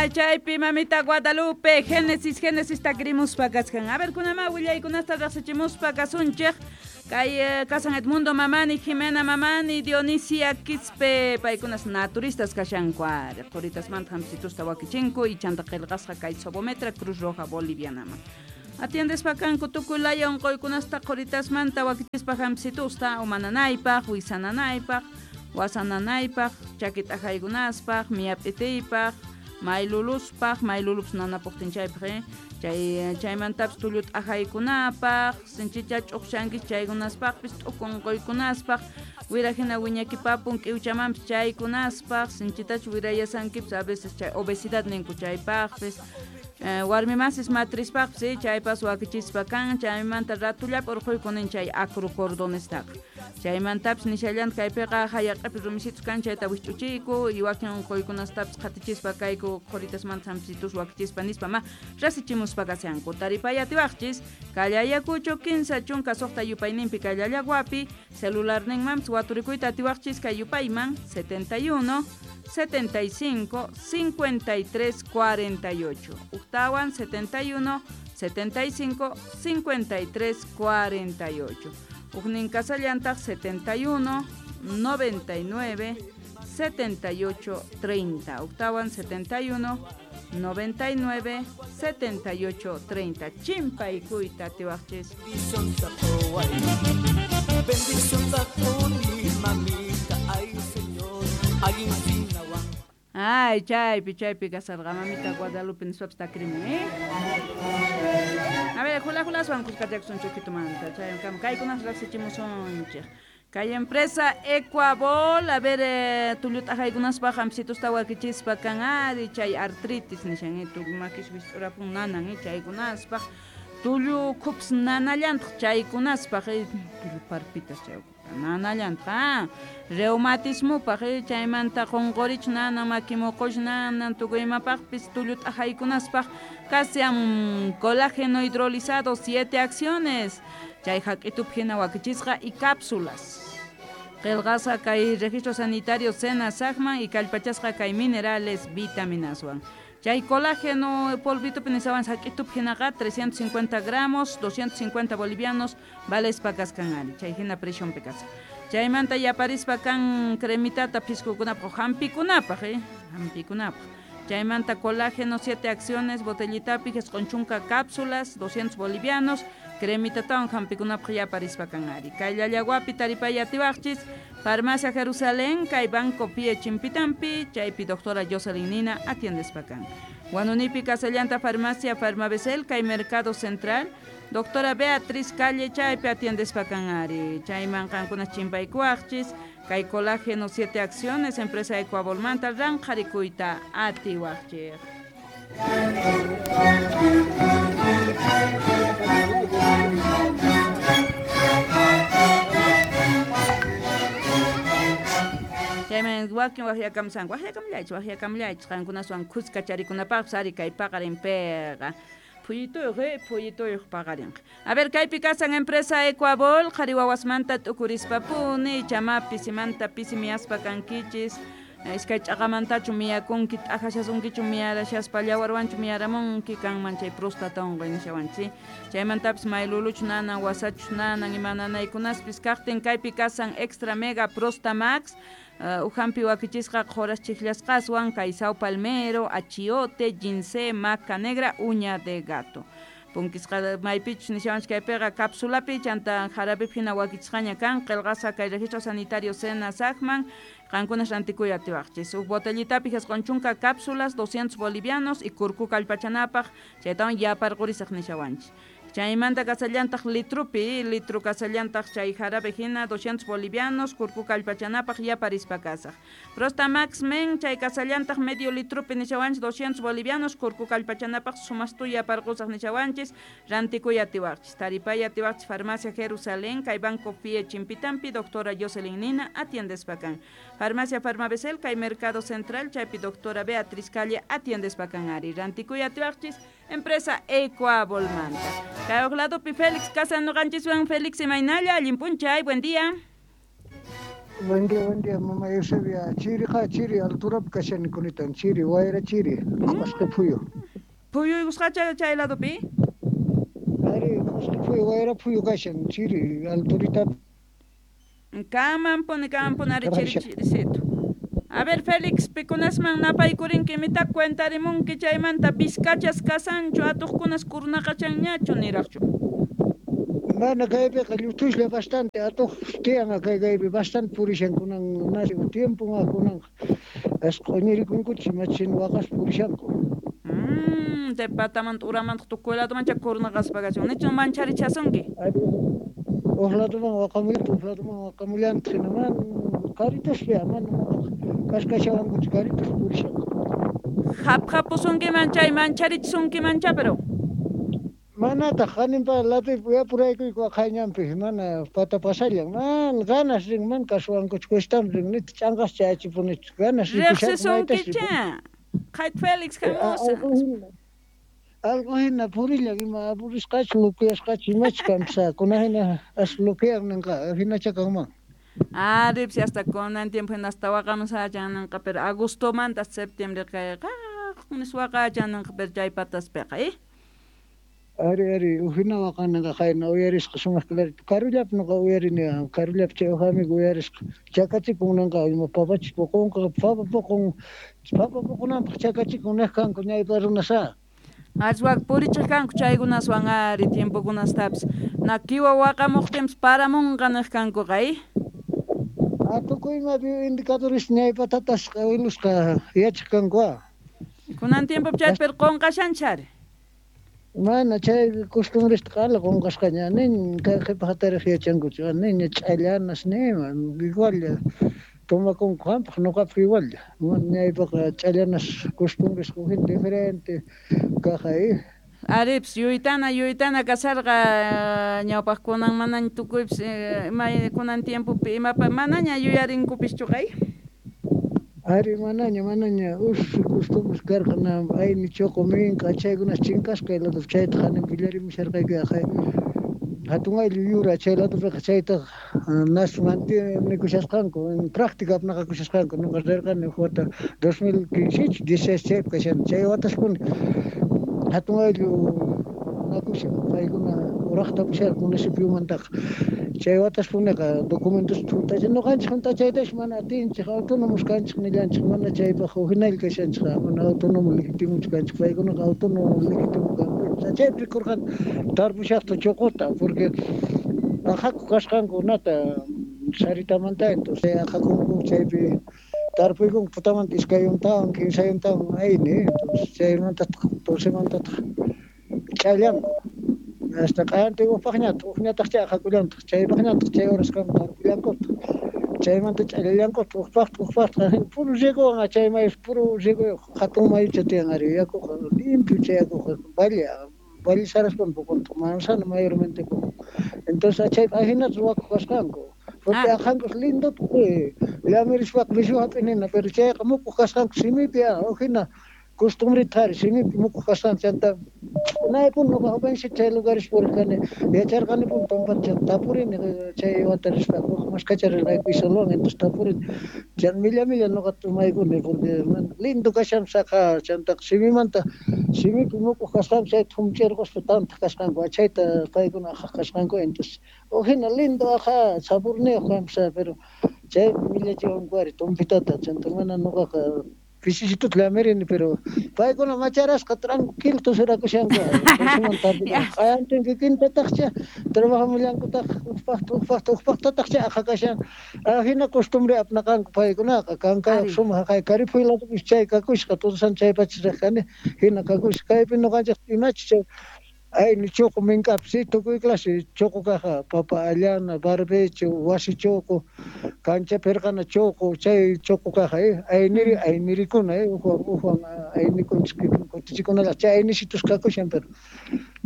Ay, chaypi mamita Guadalupe, Génesis, Génesis takrimuspa kaskan. A ver, kunama willaykunasta riqsichimuspa kasunchik. Kay kasan Edmundo Mamani, Jimena Mamani, Dionisia Quispe, paykunas naturistas kashanku ari. Quritasmanta hampitusta wakichinku y chanta qillqasqa kay Sobometra Cruz Roja Bolivianaman. Atiendespa kanku tukuy laya unquykunasta quritasmanta wakichispa hampitusta umananaypaq, wisananaypaq, wasananaypaq, chakit'ajaykunaspaq, miyap'itiypaq, mayluluspaq, maylulups nanapuqtin chaypaq, chay chaymantapis tullu t'ajaykunapaq, sinchicha ch'uqshankis chaykunaspaqpis t'uku unquykunaspaq, wirahina wiñakipapun k'iwchamanpis chaykunaspaq, sinchitachu wirayasankipis a veces chay obesidad ninku chaypaqpis. Warmimasis matrispaqpis chaypas wakichispa kan, chaymanta ratullapi urquykunin chay acrocordonestaqa. Chaymantapis nishallanta kaypiqa hayaq'api rumisitus kan chayta wikch'uchiyku y wakin unquykunastapis qhatichispa kayku qhuritasmanta hampisitus wakichispa nispa ma rasichimuspa kashanku. Taripay atiwaqchis Kallayakucho 16 yupayninpi Kallallaguapi celularninmanpis waturikuyta atiwaqchis kay yupayman 71 75 53 48. Uktawan 71 75 53 48. Ujnin kasallantaq 71 99 78 30. Uktawan 71 99 78 30. Chimpaykuyta atiwaqchis. Bendición takuni, mamita, ay señor, ay. Ay, chaypi, chaypi kasarqa mamita Guadalupe nispapas takrimun, ¿eh? A ver, jula julaswan kuskachakusun chukitumanta, chaykama kaykunas riqsichimusunchik. Kay empresa Ecuabol, a ver, tullut'ajaykunaspaq hampitusta wakichispa kan ari chay artritis nishan, tullu makis wist'urapun nanan, chaykunaspaq tullu khups nanallantaq chaykunaspaq, tullu parpitas chay nanallantaq, reumatismupaq, chaymanta qunqurich nanan, makimuqush nanan, tukuy imapaqpis tullut'ajaykunaspaq kasian colágeno hidrolizado 7 acciones, chay haq'itupi hina wakichisqa y cápsulas. Qillqasqa kay registro sanitario SENASACman y kallpachasqa kay minerales vitaminaswan. Chay colágeno polvitupi nishawan haq'itupi hinaqa 350 gramos, 250 bolivianos, valespa kaskan ari, chay hina presionpi kasqa. Chaymanta yaparispa kan cremitata piskukunapaq hampikunapaq, hampikunapaq. Chaymanta colágeno 7 acciones, botellitapi isqun cápsulas, 200 bolivianos, cremitatawan hampikunapaq yaparispa kan ari. Kay Llallaguapi taripay atiwaqchis, Farmacia Jerusalén, kay Banco Pie Chimpitampi, chaypi doctora Jocelyn Nina atiendespa kan. Huanunipi Casallanta Farmacia Farmabesel, kay Mercado Central, doctora Beatriz Calle, chaypi atiendespa kan ari. Chayman qankunas chimpaykuwaqchis, kay colágeno 7 acciones, empresa Ecuabolmanta, ranqharikuyta atiwaqchik. Chayman wakin waqyakamsan, waqyakamllaychis, waqyakamllaychis, qankunaswan khuska charikunapaqpis ari kay paqarinpiqa. Phuyituyuq, phuyituyuq paqarinqa. A ver, kaypi kasan empresa Ecuabol, qhari wawasmanta t'ukurispapuni, chamapi simanta pisi miyaspa kankichis, iskay ch'aqamantachu miyakunki, t'ajashasunkichu miyarashaspa, llawarwanchu miyaramunki, kanman chay próstata unquy nishawanchik. Chaymantapis mayluluchu nanan, wasachu nanan, ima nanaykunaspis kaqtin kaypi kasan Extra Mega Prostamax, uhampi wakichisqa qhuras chikllasqaswan, kay sao palmero, achiote, ginseng, maca negra, uña de gato. Punkisqa maypichus nishawanchik kaypiqa cápsulapi chanta jarapipi hina wakichisqaña kan, qillqasqa kay registro sanitario SENASACman, qankunas rantikuy atiwaqchis. Huk botellitapi 90 cápsulas, 200 bolivianos y kurku kallpachanapaq, chaytawan yaparqurisaq nishawanchik. Chaymanta kasallantaq litrupi, litru kasallantaq chay jarabe hina 200 bolivianos, kurku kallpachanapaq yaparispa kasaq. Prostamax men chay kasallantaq medio litrupi nishawanchis 200 bolivianos, kurku kallpachanapaq sumastu yaparqusaq nishawanchis, rantikuy atiwaqchis. Taripay atiwaqchis Farmacia Jerusalén, kay Banco Fie Chimpitampi, doctora Jocelyn Nina atiendespa kan. Farmacia Farmabesel, kay Mercado Central, chaypi doctora Beatriz Calle atiendespa kan ari. Rantikuy atiwaqchis, empresa Ecuabolmanta. Kay Félix Casa noqanchiswan Félix imaynalla, allin p'unchay, buen día. Buen día, mamá Eusebia. Chiriqa chiri, alturapi kashani kunitan, chiri, wayra chiri, q'osqi phuyu. Phuyuykusqacha chay ladopi? Ari, q'osqi phuyu, wayra phuyu kashan, chiri, alturitapi. Kamanpuni, kamanpuni ari chiri chirisito. A ver, Félix, pikunasman napaykurinki, imita cuentarimunki chaymanta vizcachas kasanchu, atuqkunas kurnaqachanñachu niraqchu. Mana kaypiqa llutuslla bastante atuq tiyan kay kaypi bastante purishan kunan nasi tiempo kunanqa as q'uñirikunkuchis imachin waqaspa purishanku. Chay patamanta uramanta tukuy ladomancha kurnaqaspa kachun. Nichu mancharichasunki? Huk ladoman waqamullantaq, huk ladoman waqamullantaq hina mana karituspi mana kashkashawankuchu karitus purishanku. Haphapusunkiman chay mancharichisunkimancha pero. Manataq haninpa ladoypi yapuraykuyku aqhayñanpi mana pata pasallan mana ganas rin mana kasuwankuchu cuestan rin nita ch'anqas chayachipunichu ganas rikushanku maytas Riqsisunkicha. Qhayt Félix hamusa. Algo hina purillan ima apurisqachu lukuyasqachu imachu kanpas kuna hina as lukuyan ninqa hinacha kanman. Ari, hasta kunan tiempo hina hasta waqamusachan ninqa pero agostomanta septiembre kay nis waqachan ninqa pero chay pataspiqa, eh? Ari, ari, hina waqaninqa qayna uyarisqa sumaq clarito. Karullapi nuqa uyarini, karullapi chay uj amigo uyarisqa. Chakachikun ninqa ima papachis puqunqa, papa puqun, papa puqunanpaq chakachikun niq kanku ñaypa runasá. Aswak purichiq kanku chaykunaswan ari tiempokunastapis. Na kiwa waqamuqtinpis paramunqa niq kankuqa, eh? A tukuy ima bioindicadores ñaypa tatasqa awilusqa yachaq kanku a. Kunan tiempopi chayta pero qunqashanchari. Mana chay costumbresta qala qunqasqaña nin kay qhipa hatariq yachankuchu niña ch'allanas nima igual tomakunku qampaq nuqapaq igual mana ñaypaqa ch'allanas costumbres huk diferente kaq eh. Aripis yuytana yuytana kasharqa ñawpaq kunan manaña tukuypis ima kunan tiempopi imapa manaña yuyarinkupischu qay. Ari manaña manaña us costumbres karqa na ayni chuqu minka chaykunas chinkasqa kay ladopi chayta hanin pillarimusharqayku aqhay hatun ayllu yura chay ladopiqa chaytaqa nas mantenekushasqanku en práctica apnaqakushasqanku nuqa rirqani huk wata 2015 16 chaypi kashani chay wataspuni hatun ayllu nakushan paykuna uraqta apasharqa municipiomantaqa chay wataspuniqa documentos hunt'achin nuqanchik hunt'achaytash mana atinchik autónomos kanchik nillanchik mana chaypaq huk hinalla kashanchik mana autónomo legítimochu kanchik paykunaqa autónomo legítimo kanku chaypi rikurqani tarpushaqta chuquta porque aqhaku kasqanku nata saritamanta entonces aqhakunku chaypi tarpuykunku putamanta iskay yuntawan kimsa yuntawan ayni entonces chaymantataq tusimantataq ch'allanku hasta q'ayantin hukpaqñataq hukñataqcha aqhakullantaq chaypaqñataq chay horaskama tarpullankutaq chaymanta ch'allallankutaq hukpaqta hukpaqta puro riegowan chay mayu puro riegoyuq hatun mayucha tiyan ari yakuqa limpio chay yakuqa valle valle saraspam puquntaq manzana mayormente puqun entonces chaypi ahinata ruwakuq kasqanku porque aqhankus lindo llamirispaqa mishu hap'inina pero chayqa mukuq kasqanku simipi huk hina costumbrita ari simipi mukuq kasqanku chanta unaypuni nuqa jovencito chay lugares puriq kani yacharqanipuni tumpata tapurini chay wata rispa huk maskhacha rirqayku Isolowan entonces tapurini chay milla milla nuqa tumaykuni porque lindo kashan saqa chantaqa simimanta simipi mukuq kasqanku chayta humch'irquspa tantaq kasqanku chayta paykuna aqhaq kasqanku entonces huk hina lindo aqha saborniyuq kanpas pero chaypi millachiwanku ari tumpitata chanta mana nuqaqa pisisituta llamirini pero paykuna macharasqa tranquilo tusurakushanku q'ayantin kikintataqcha trabajamullankutaq hukpaqta hukpaqta hukpaqtataqcha aqhakashan hina costumbre apnaqanku paykunaqa kankayuq sumaq haqay Caripuy ladopis chay kakusqa tusan chaypacha riq kani hina kakusqa kaypi nuqanchik imachi chay ayni chuqu mink'api si tukuy clase chuqu kaqqa papa allana barbecho wasi chuqu kancha pirqana chuqu chay chuqu kaqqa ayniri aynirikuna ukwan ukwan aynikunchik kutichikunalla chay aynisitus kakushan pero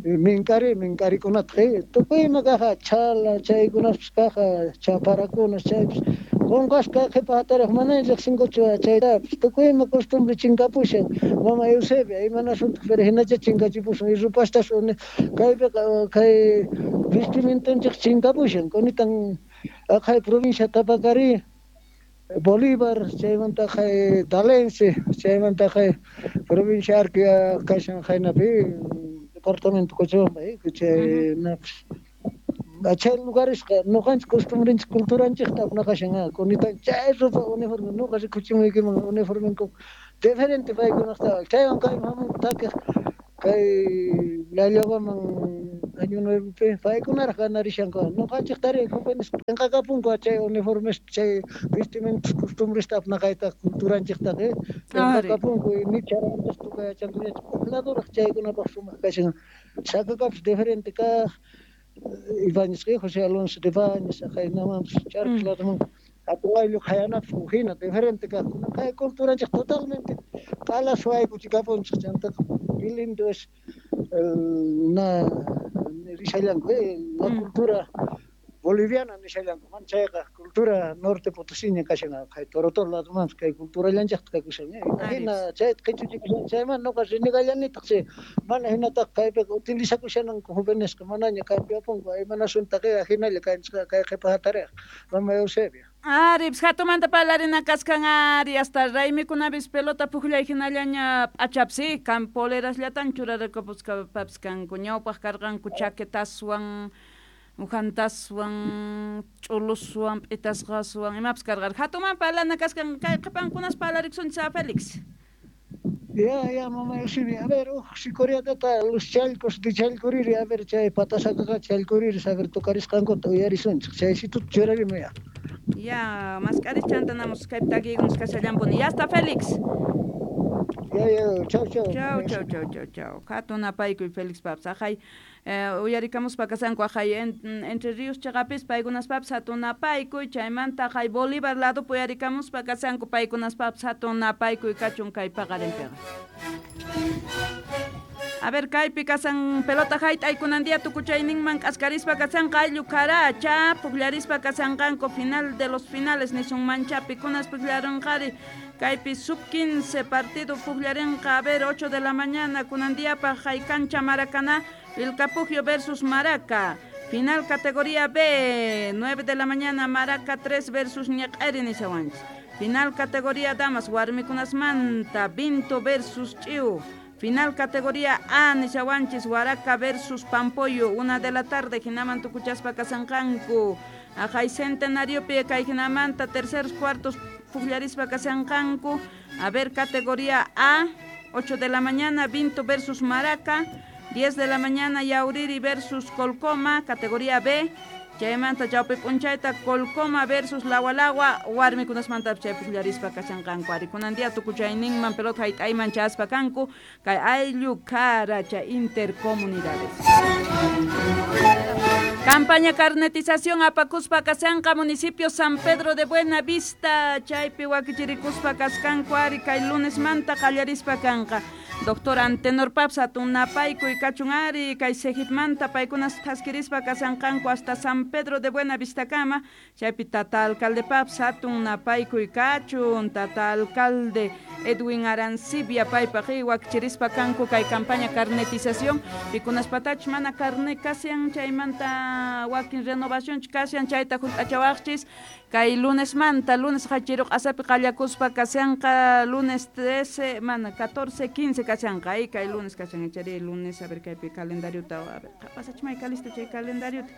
mink'ari mink'arikunataq tukuy ima kaqqa chhala chaykunaspis kaqqa chaparakuna chaypis qunqasqa qhipa hatariq mana riqsinkuchu chaytapis tukuy ima costumbre chinkapushan mama Eusebia imanasuntaq pero hinacha chinkachipusun y rupastas kaypiqa kay vestimentanchik chinkapushan kunitan aqhay provincia Tapacari Bolívar, chaymanta Talense, chaymanta provincia Arquia kashan haynapi departamento Cochabamba, chay chay lugaresqa ñuqanchik costumbrenchik culturanchikta apnaqashan kunitan chay ropa uniforme ñuqa rikuchimuykiman uniformenku diferente paykunaqta chaywan kayman hamunku takiq kay Llallawaman año nuevopi paykunaraq ganarishanku ñuqanchiktari jóvenes p'inqakapunku chay uniformes chay vestimentas costumbresta apnaqayta culturanchiktaqa p'inqakapunku ni charantas tukay yachankuñachu huk laduraq chaykunapaq sumaq kashan chakakapis diferente kaq Ibáñez, José Alonso de Ibáñez, haynamanpas Charcas laduman hatun ayllu qhayanapis huk hina diferente kaq kay culturanchik totalmente q'ala suwaykuchikapunchik chantaqa qué lindo es na nishallanku la cultura boliviana nishallanku mana chayqa cultura norte potosiña kashan kay Torotoro ladumanpas kay culturallanchikta kakushan hina chayta qhichuchikushan chayman ñuqa renegallanitaq chay mana hinataqa kaypiqa utilizakushananku jovenesqa manaña cambiapunku imanaswantaqa hinalla kanchik kay qhipa hatariq mama Eusebia. Ari, hatumanta parlarina kaskan ari hasta raymikunapis pelota pukllay hinallaña p'achapsi kan polerasllatan churarakapuspapis kanku ñawpaq karqanku chaquetaswan ujantaswan ch'uluswan p'itasqaswan imapas karqan hatuman parlana kaskan kay qhipankunas parlarikusunchis a Félix. Ya, mamá Eusebia, a ver, sikoriatata los chalcos de Chalcoriri, a ver, chay patasakaqa Chalcoriri, a ver, tocarisqankuta uyarisunchik, chaysituta churarimuy ya. Ya, mask'aris chantanamos kaypi takiykunas kashallanpuni. Ya está, Félix. Ya, chau, chau. Chau, chau, chau, chau, chau. Hatun apaykuy Félix papas. Aqhay, uyarikamuspa kasanku aqhay Entre Ríos chaqapis paykunaspapis hatun apaykuy, chaymanta aqhay Bolívar ladopi uyarikamuspa kasanku paykunaspapis hatun apaykuy kachun kay paqarinpiqa. A ver, kaypi kasan pelota hayt'aykunan día tukuchayninman k'askarispa kasanqa ayllu karacha pukllarispa kasanqanku final de los finales nisunmancha pikunas pukllarinqari kaypi sub 15 partido pukllarinqa a ver 8 de la mañana kunan diapaq hay cancha Maracaná Vilcapugio versus Maraca. Final categoría B, 9 de la mañana Maraca 3 versus Ñaq'ari nishawanchis. Final categoría damas warmikunasmanta Vinto versus Ch'iu. Final categoría A, nishawanchis, Huaraca versus Pampoyo, 1 de la tarde, hinaman tukuchaspa kasanqanku. Aqhay Centenariopi kay hinamanta terceros cuartos pukllarispa kasanqanku. A ver, categoría A, 8 de la mañana, Vinto versus Maraca, 10 de la mañana, Yauriri versus Colcoma, categoría B. Chaymanta chawpi p'unchayta Colcoma versus Lawalawa warmikunasmanta chay pukllarispa kashanqanku ari kunan día tukuchayninman pelota hayt'ayman chaspa kanku kay ayllu karacha intercomunidades. Campaña carnetización apakuspa kashanqa municipio San Pedro de Buena Vista chaypi wakichirikuspa kaskanku ari kay lunesmanta qallarispa kanqa. Doctor Antenor Paps hatun napaykuy kachun ari kay Sejipmanta paykunas thaskirispa kasanqanku hasta San Pedro de Buena Vistakama chaypi tata alcalde Paps hatun napaykuy kachun tata alcalde Edwin Arancibia paypaq wakichirispa kanku kay campaña carnetización pikunaspatachus mana carne kashan chaymanta wakin renovación kashan chayta hunt'achawaqchis kay lunesmanta lunes hachiruq asapi qallakuspa kashanqa lunes 13 mana 14 15 kashanqa ay kay lunes kashan chari lunes a ver kaypi calendariota a ver pasachimay kalista chay calendariota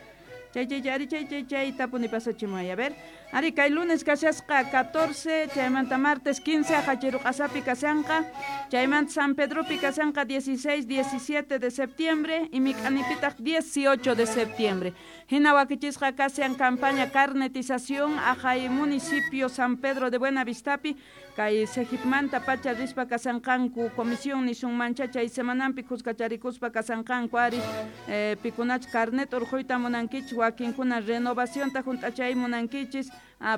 chay chay ari chay chay chay tapuni pasachimay a ver ari kay lunes kashasqa 14 chaymanta martes 15 hachiruq asapi kashanqa chaymanta San Pedropi kashanqa 16 17 de septiembre y mik'anipitaq 18 de septiembre hina wakichisqa kashan campaña carnetización aqhay municipio San Pedro de Buena Vistapi kay Sejipmanta pacha rispa kasanqanku comisión nisunmancha chay semananpi kuskacharikuspa kasanqanku ari pikunach carnet urquyta munankichis wakinkuna renovacionta hunt'achay munankichis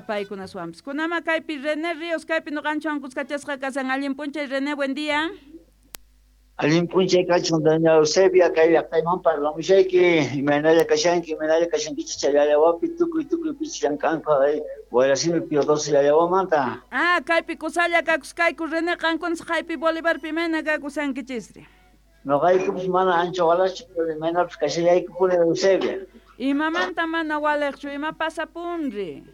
paykunaswanpis kunama kaypi René Ríos kaypi ñuqanchwan kuskachasqa kasan allin p'unchay René, buen día. Allin p'unchay kachun doña Eusebia kay llaqtayman parlamushayki imaynalla kashanki imaynalla kashankichis chay llallawapi tukuy tukuy pichis llank'anku Guayrasimi Pío 12 llallawamanta. Ah, kaypi kusalla kakuskayku René qankunas haypi Bolivarpi imayna kakusankichisri. Noqaykupis mana ancha walachu pero imaynapis kashallaykupuni Eusebia. Imamanta mana waliqchu ima pasapunri.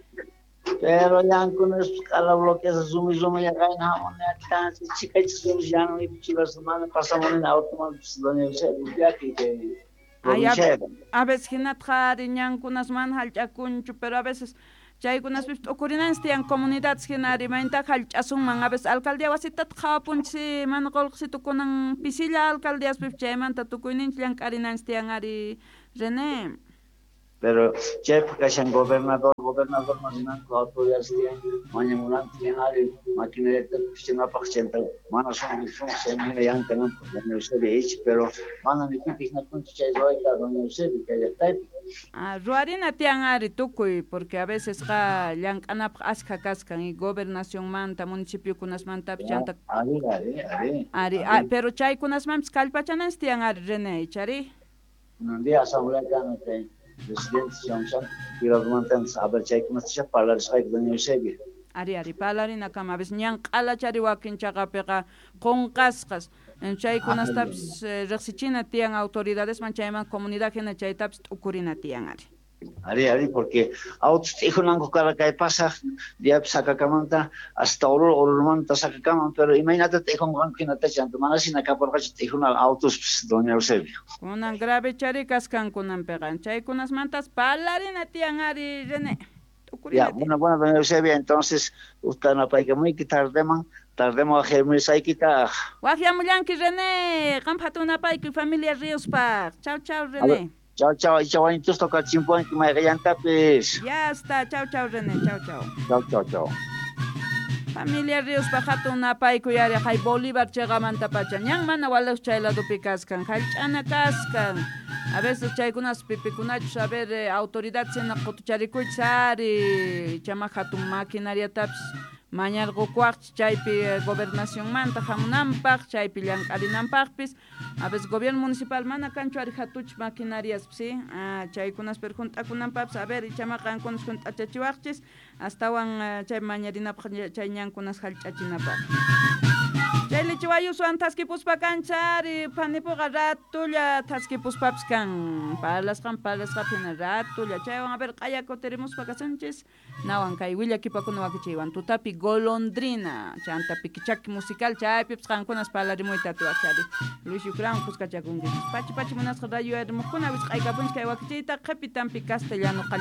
Pero ñankunas q'ala bloqueasqa rumi rumilla qayna hamuni chikachis rumi llanu chivas mana pasamuni automanpis doña Eusebia upiaki kay Ay, provinciaqa. a veces hinatqa ari ñankunas mana hallch'akunchu, pero a veces chaykunaspis t'ukurinanchis tiyan comunidades hina ari maynintaqa hallch'asunman, a veces alcaldía wasitata qhawapunchis mana qullqisitu kunan pisilla alcaldiaspis chaymanta tukuyninchis llank'arinanchis tiyan ari René. Pero chaypaq kashan gobernador, gobernadorman rinanku autoridades tiyan, mañamunanku tiyan ari maquinariata pichinapaq chayta mana sumaq sumaq chayman hina llamk'ananpaq doña Eusebia icha, pero mana ni pipis nakunchu chay ruwayta doña Eusebia kay llaqtaypi. Ah, ruwarina tiyan ari tukuy, porque a veces qa llank'anapaq askha kaskan y gobernacionmanta, municipiokunasmantapis chanta Ari, ari, ari. ari, ari. pero chaykunasmanpis kallpachananchis tiyan ari René, ichari? Kunan día asamblea kan kay presidente shamushan privadumanta a ver chaykunatacha parlarisqayku doña Eusebia. Ari, ari, parlarinakama, a veces ñan q'alachari wakin chaqapiqa qunqasqas, chaykunastapis riqsichina tiyan autoridadesman chayman comunidad hina chaytapis t'ukurina tiyan ari. Ari, ari, porque autos t'ijunanku karqa kay pasaq diapi Sacacamanata hasta Oruro, Orurumanta Sacacaman, pero imaynata t'ijunqanku hinata chanta mana hina kaparqachu t'ijuna autospis doña Eusebia. Kunan grave chari kaskan kunanpiqa, chaykunasmantas parlarina tiyan ari René. Ya, T'ukurina tiyan. bueno, bueno, doña Eusebia, entonces usta napaykamuyki tardeman, tardeman waqyamusaykitaq. Waqyamullanki René, qampa hatun napaykuy familia Ríospaq. Chau, chau A ver, René. chau, chau, icha wañutusta kachimpuanki mayqillantapis. Ya está, chau, chau René, chau, chau. Chau, chau, chau. Familia Ríospaq hatun napaykuy ari hay Bolívar chiqamantapacha ñan mana walaq chay ladopi kaskan, hallch'ana kaskan. A veces chaykunas pipikunachus, a ver, autoridad sina qutucharikuychis ari, chama hatun maquinariatapis mañarqukuwaqchis chaypi gobernacionmanta hamunanpaq, chaypi llank'arinanpaqpis. A veces gobierno municipal mana kanchu ari hatuch maquinariaspis, ¿sí? Ah, chaykunas pero hunt'akunanpaqpis, a ver, ichama qankunas hunt'achachiwaqchis, astawan chay mañarinapaq chay ñankunas hallch'achinapaq. Chay lichiwayuswan thaskipuspa kanchari, phanipuqa ratulla thaskipuspapis kan, parlasqan parlasqapi hina ratulla, chaywan a ver q'aya kutirimuspa kasunchis, nawan kay willakipakuna wakichiywan tutapi golondrina, chanta pikichaki musical chaypipis qankunas parlarimuyta atiwaqchari. Luis Yucrán kuskachakunkichis. Pachi pachi munasqa rayo arimuqkuna wisq'aykapunchis kay wakichiyta qhipitanpi castellano qallita.